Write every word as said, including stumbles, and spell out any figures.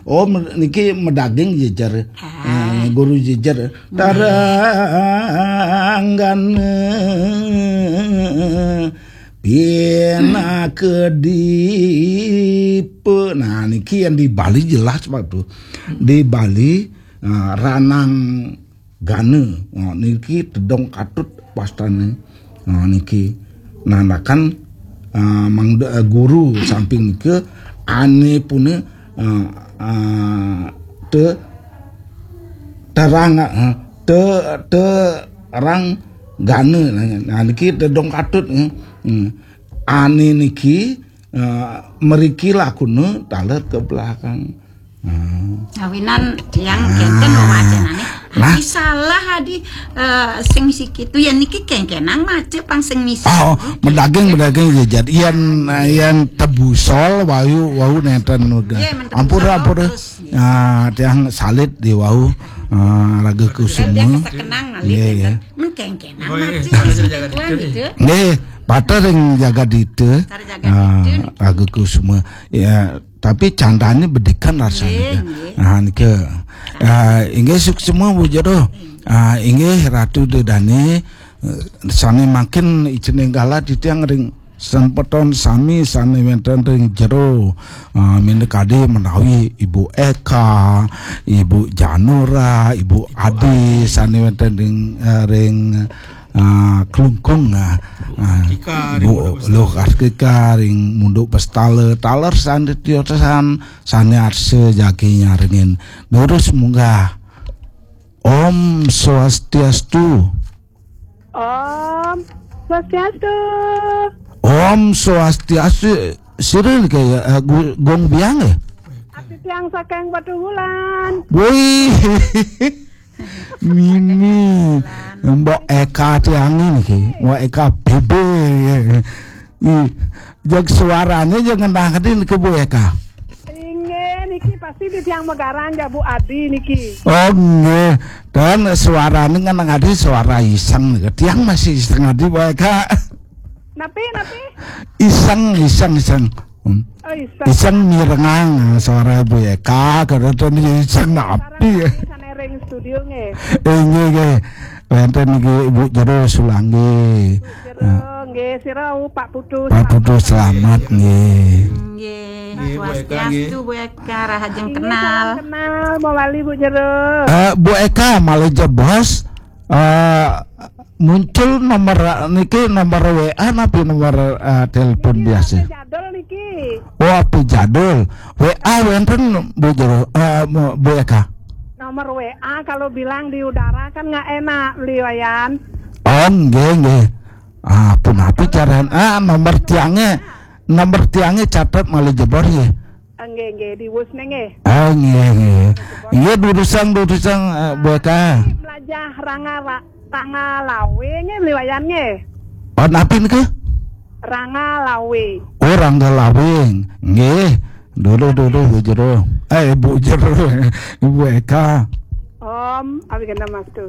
Oh, me- niki medaging jejer. Eh, guru jejer. Taranggan, eh, pinaka dipe. Nah, niki yang di Bali jelas, Pak, tuh. Di Bali, eh, ranang gana. Oh, niki tedong katut wastane. Oh, niki nandakan, eh, mangda, eh, guru samping ke ane pune, eh, eh, te terang, eh, te terang gana. Nah, niki tedong katut, eh. Hmm. Ane niki, eh, meriki lakune taler ke belakang. Hmm. Awinan tiang kenten memacenane. Nah. Adi salah, adi, eh, sing misi kitu ya niki kengkenang mace pang sing misi. Oh, medaging, medaging jejer. Yen, yen tebusol wau, wau nenten uga. Iya, men ampun, tebusol ampun. Terus, iya. Ah, tiang salit di wau, ah, raga kusuma. Tiang kesekenang ngalih. Iya, iya. Men kengkenang mace sing misi kitu. Nggih, pater ring jagadita. Jagadita. Ah, raga kusuma. Ya, tapi candane bedikan rasane. Nggih, nggih. Nah, nika. Ah, inggih suksma, Bu Jero. Ah, inggih Ratu Dedane, eh, sane mangkin icening galah titiang ring sempeton sami sane wenten ring jero. Ah, minakadi menawi Ibu Eka, Ibu Janura, Ibu Adi sane wenten ring, eh, ring ah, Klungkung, ah, ah, Kika, Bu Luh Askika ring Munduk Bestala, taler sane tiosan, sane arsa jagi nyarengin. Durus munggah. Om Swastiastu. Om Swastiastu. Om Swastiastu. Sira ke, eh, Gu- Gong Biang, eh? Ati tiang saking Batu Wulan. Woi. Mini. Mbok Eka tiang niki. Mbok Eka B B. Ih, jeg suarane jeg ngenah ngendi niki, Bu Eka? Inggih, niki pasti di tiang Megaran ya, Bu Adi niki. Oh, nggih. Dan suarane ngenah adi suara iseng niki. Tiang masih iseng adi, Bu Eka. Napi, napi? Iseng, iseng, iseng. Hmm. Oh, iseng. Iseng mirengang suara Bu Eka, kada ten iseng napi. Sareng sami sane ring studio nggih. Eh, nggih, nggih. Wenten nggih Ibu Jero Sulanggi. Jero, nggih, sira, uh, Pak Putu, Pak Putu selamat, nggih. Nggih, nggih, Bu Eka, nggih. Swastiastu, Bu Eka, rahajeng. Inggih, kenal. Salam kenal, mawali Bu Jero. Eh, Bu Eka, malih jebos. Eh, muncul nomor niki, nomor W A napi nomor, eh, telepon niki biasa? H P jadul niki. Oh, H P jadul. W A wenten, Bu Jero, eh, Bu Eka? Nomor W A kalau bilang di udara kan nggak enak, Beli Wayan. Oh, nggih, nggih. Ah, punapi carane? Ah, nomor tiange, nomor tiange catet malih jebos nggih. Nggih, nggih, diwus nggih. Ah, nggih, nggih. Nggih, durusang, durusang, eh, Bu Eka. Melajah Ranga Ra-, Ranga Lawe nggih, Beli Wayan nggih. Oh, napi nika? Ranga Lawe. Oh, Ranga Lawe. Nggih. Dulu, dulu, Bu Jero. Eh, Bu Jero. Ibu Eka. Om, abi kena mas tu.